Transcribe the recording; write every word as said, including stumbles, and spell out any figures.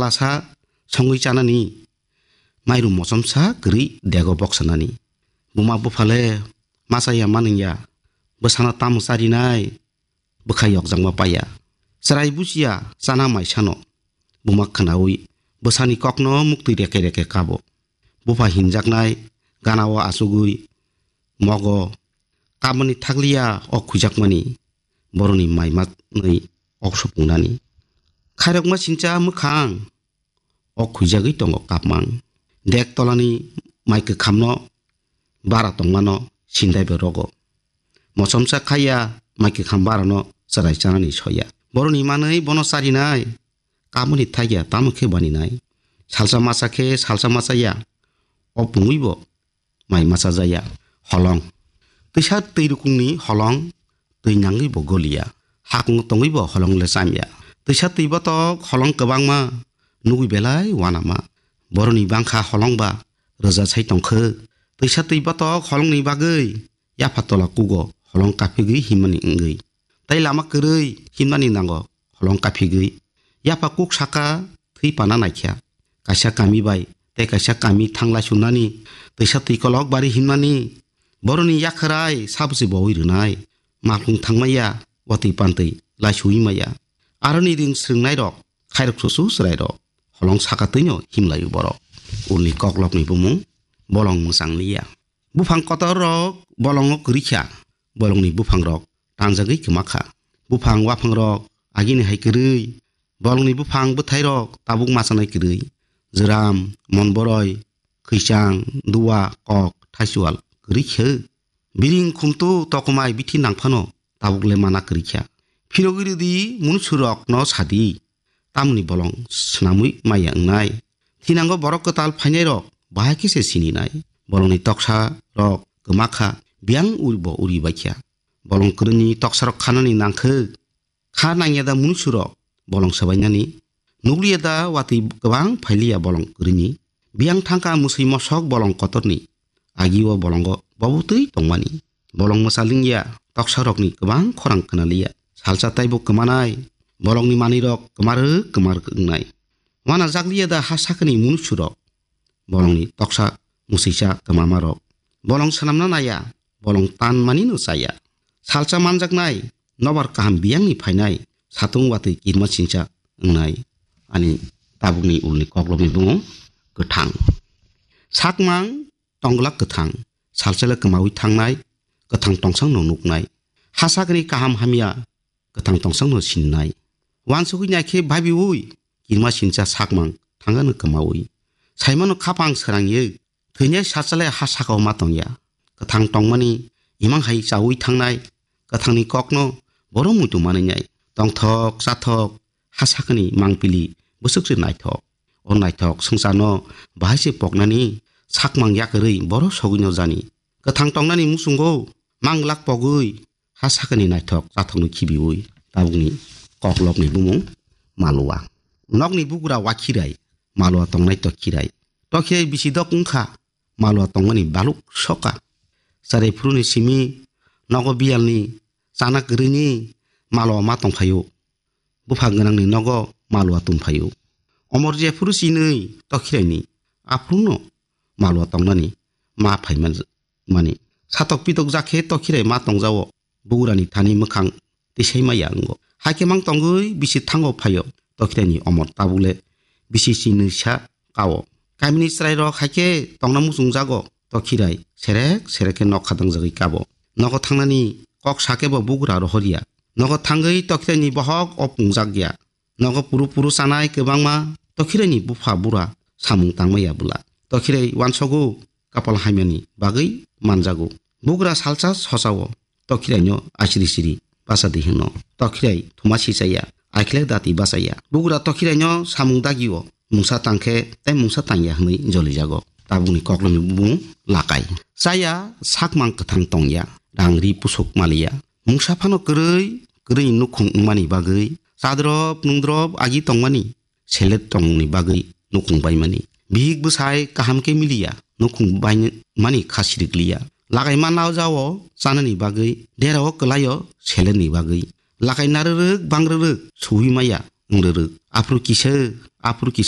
Lasa songwi chanani, mairum mochomsa kwrwi dego boksanani. Buma buphale masa ya manwng ya, bwsano tamo charinai, bwkha yokjakma paiya. Chwrai buchiya chana maisano, buma khwnaui bwsani kokno muktwi reke reke kabo. Bupha hinjaknai ganao achugwi mogo, kaboni thakliya ok khuijakmani, boroni mai manwi ok supungnani. Khairokma sincha mwkhang, ok khuijagwi tongo kapmang. Dek tolani mai kwkhamno bara tongmano sindai bai rogo. Mochomsa khaiya mai kwkham barano chwrai chanani soya. Boroni manwi bono charinai, kaboni thakya tamo khe baninai. Salsa masa khe salsa masa ya, o pungwibo mai masa jaya. Holong. Twisa twi rukungni holong, twi nangwi bo goliya. Hakung tongwi bo holong le chamya. Twisa twi botok holong kwbangma, nugwi belai wanama. Boroni bangkha holong ba rwja sai tongkhe. Twisa twi botok holongni bagwi yapha tola kugo holong kaphigwi himmani wngwi. Tai lama kwrwi himmani nango holong kaphigwi. Yapha kuk saka thwi pana naikha. Kaisa kami bai tei kaisa kami thanglai sunani, twisa twi kolok bari himmani, boroni yakhwrai sabsi bowi rwnai, malkhung thangmaya, watwi pantwi laisuwi maya. Aroni ring srwngnairok, khairok susu chwrairok, holong saka twino himlaio borok. Ulni koklopni bumung, bolong mwchang liya. Buphang kotor rok bolongo kwrwi kha, bolongni buphang rok tanjagwi kwma kha. Buphang waphang rok agini hai kwrwi, bolongni buphang bwthai rok tabuk machanai kwrwi. Jwram, monboroi, khwichang, duwa, kok, thaisual kwrwi khe. Biring khumtu tokomai bithi nangphano tabuk le mana kwrwi kha. Phirogwi rwdi munusurokno sadi, tamoni bolong swnamwi maya wngnai. Thinango borok kwtal phainairok bahai khe se sininai. Bolongni toksa rok kwma kha, biyang uribo uri baikha. Bolong kwrwini toksarok khanani nangkhe, kha nangya da munusurok bolong swbainani, nukliya da watwi kwbang phailiya bolong kwrwini. Biyang thangkha mwswi mosok bolong kotorni, agio bolongo bobotwi tongmani. Bolong mwchalingya, toksarokni kwbang khorang khnaliya. Salsa taibo kwmanai, bolongni manwirok kwmarwk kwmarwk wngnai. Wana jakliya da ha sakani munusurok, bolongni toksa mwswisa kwmamarok. Bolong swnamna naya, bolong tan manino chaya. Salsa manjaknai, nobar kaham biyangni phainai, satung watwi kirma sincha wngnai. Ani tabukni ulni koklopni bumung kwthang. Sakmang tonglak kwthang, salsale kwmaui thangnai, kwthang tongsangno nuknai. Ha sakni kaham hamya, kwthang tongsangno sinnai. Wansugwi naikhe babiui, kirma sincha sakmang thangano kwmaui. Saimano khapang srangye, thwinai sachale ha sakao ma tongya. Kwthang tongmani imang hai chaui thangnai, kwthangni kokno boro muitu manwinai. Tongthok, chathok, ha sakani mangpili bwswk se naithok. O naithok swngcharno bahai se poknani sakmang yakarwi boro sogwino jani. Kwthang tongnani muchungo manglak pogwi ha sakani naithok chathokno khibiui tabukni koklopni bumung Malua. Nokni bugra wakhirai, Malua tongnai tokhirai. Tokhirai bisi dok wngkha, Malua tongmani baluk soka. Charai phuruni simi nogo biyalni chana kwrwini Malua ma tongphaio. Buphang gwnangni nogo Malua tongphaio. Omor je phuru sinwi tokhiraini aphurungno Malua tongnani ma phaimani. Satok pitok jakhe tokhirai ma tongjao. Bugrani thani mwkhang tisai maya wngo. Haikhe mang tongwi bisi thango phaio. Tokhiraini omor tabukle bisi sinwi sa kao. Kamini chwrairok haikhe tongna muchungjago. Tokhirai serek serek khe nok khadangjagwi kabo. Nogo thangnani kok sakhe bo bugra rohorya. Nogo thangwi tokhiraini bohok o pungjak ya. Nogo puru puru chanai kwbangma tokhiraini bupha bura samung tangma ya bwla. Tokhirai wansogo kapal hamyani bagwi manjago. Bugra salsa sochao tokhiraino asiri siri basa di hwno. Tokhirai thuma sichaya, aikhlek dati bachaya. Bugra tokhiraino samung dagio mungsa tangkhe tei mungsa tangya hwnwi jolijago. Tabukni koklopni bumung Lakai. Chaya sakmang kwthang tongya, rang ri pusuk maliya. Mungsa phano kwrwi, kwrwi nukhung wngmani bagwi chadrop nungdrop agi tongmani selet tongmungni bagwi nukhung baimani. Bihik bwsai kaham khe miliya, nukhung baimani kha sirikliya. Lakai manao jao chanani bagwi, derao kwlaio seletni bagwi. Lakai narwrwk bangrwrwk suwi maya wngrwrwk. Aphuru kisa, aphuru kisa